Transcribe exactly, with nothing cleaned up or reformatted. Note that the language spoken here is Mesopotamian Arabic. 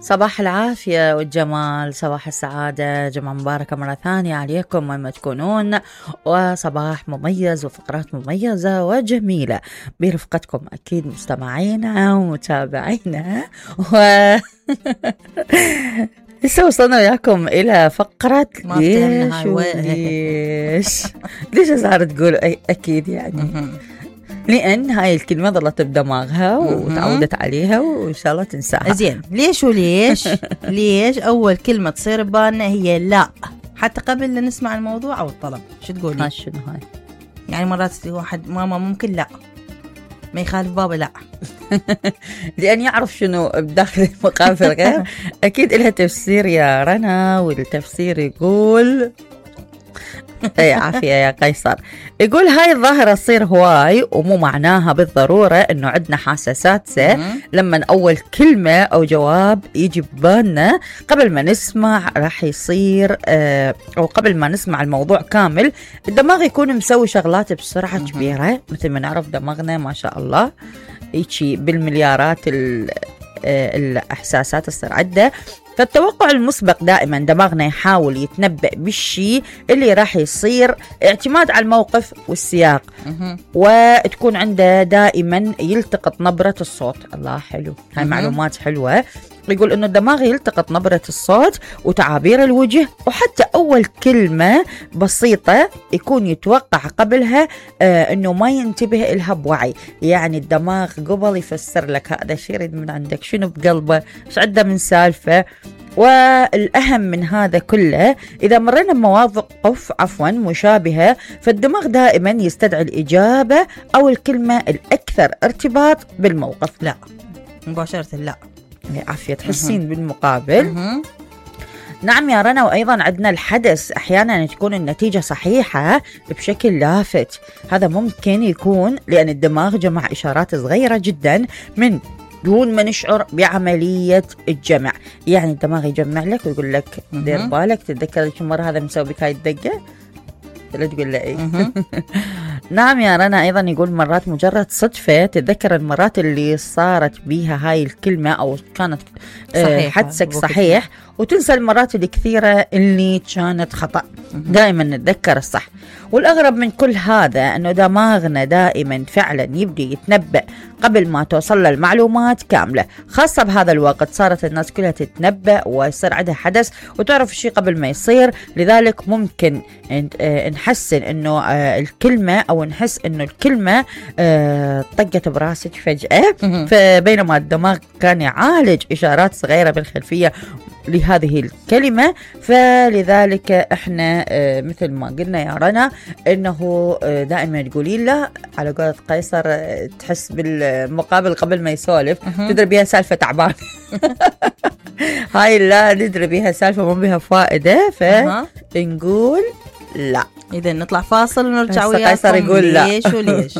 صباح العافية والجمال، صباح السعادة، جمعة مباركة مرة ثانية عليكم وين ما تكونون، وصباح مميز وفقرات مميزة وجميلة برفقتكم أكيد مستمعينا ومتابعينا. و لسه وصلنا وياكم إلى فقرة ليش وليش ليش صارت تقول أكيد يعني لأن هاي الكلمة ظلت بدماغها وتعودت عليها وإن شاء الله تنساها. زين، ليش وليش ليش أول كلمة تصير ببالنا هي لا، حتى قبل لا نسمع الموضوع أو الطلب. شو تقولي؟ ها شنو هاي؟ يعني مرات واحد ماما ممكن لا، ما يخالف بابا لا. لأن يعرف شنو بداخل المقام في الغير. أكيد إلها تفسير يا رنا، والتفسير يقول اي عافية يا قيصر. يقول هاي الظاهرة تصير هواي ومو معناها بالضرورة انه عندنا حساسات لما اول كلمة او جواب يجي ببالنا قبل ما نسمع راح يصير اه او قبل ما نسمع الموضوع كامل الدماغ يكون مسوي شغلات بسرعة كبيرة. مثل ما نعرف دماغنا ما شاء الله يجي بالمليارات الاحساسات تصير عده. فالتوقع المسبق دائما دماغنا يحاول يتنبأ بالشيء اللي راح يصير اعتماد على الموقف والسياق، وتكون عنده دائما يلتقط نبرة الصوت. الله حلو، هاي معلومات حلوة. يقول انه الدماغ يلتقط نبرة الصوت وتعابير الوجه وحتى اول كلمة بسيطة يكون يتوقع قبلها آه انه ما ينتبه إلها بوعي. يعني الدماغ قبل يفسر لك هذا الشيء يريد من عندك شنو بقلبه، ايش عنده من سالفة. والأهم من هذا كله إذا مرينا بمواقف عفوا مشابهة فالدماغ دائما يستدعي الإجابة أو الكلمة الأكثر ارتباط بالموقف. لا مباشرة لا. عافية تحسين بالمقابل. نعم يا رنا، وأيضا عندنا الحدث أحيانا تكون النتيجة صحيحة بشكل لافت. هذا ممكن يكون لأن الدماغ جمع إشارات صغيرة جدا من دون ما نشعر بعملية الجمع. يعني الدماغ يجمع لك ويقول لك دير بالك، تتذكر كم مرة هذا مسوي بك هاي الدقة، لا تقول له ايه. نعم يا رنا، ايضا يقول مرات مجرد صدفة تتذكر المرات اللي صارت بيها هاي الكلمة او كانت حدسك صحيح وتنسى المرات الكثيرة اللي كانت خطأ. دائما نتذكر الصح. والأغرب من كل هذا أنه دماغنا دائما فعلا يبدي يتنبأ قبل ما توصل له المعلومات كاملة. خاصة بهذا الوقت صارت الناس كلها تتنبأ ويصير عندها حدث وتعرف الشيء قبل ما يصير. لذلك ممكن نحسن أنه الكلمة أو نحس أنه الكلمة طقت براسك فجأة، فبينما الدماغ كان يعالج إشارات صغيرة بالخلفية لهذه الكلمة. فلذلك احنا اه مثل ما قلنا يا رنا انه اه دائما تقولي لا على قولة قيصر اه تحس بالمقابل قبل ما يسولف. تدري بيها سالفة تعبان. هاي لا ندري بيها سالفة ما بيها فائدة فنقول لا. إذا نطلع فاصل ونرجع وياكم. قيصر يقول لا. ليش وليش.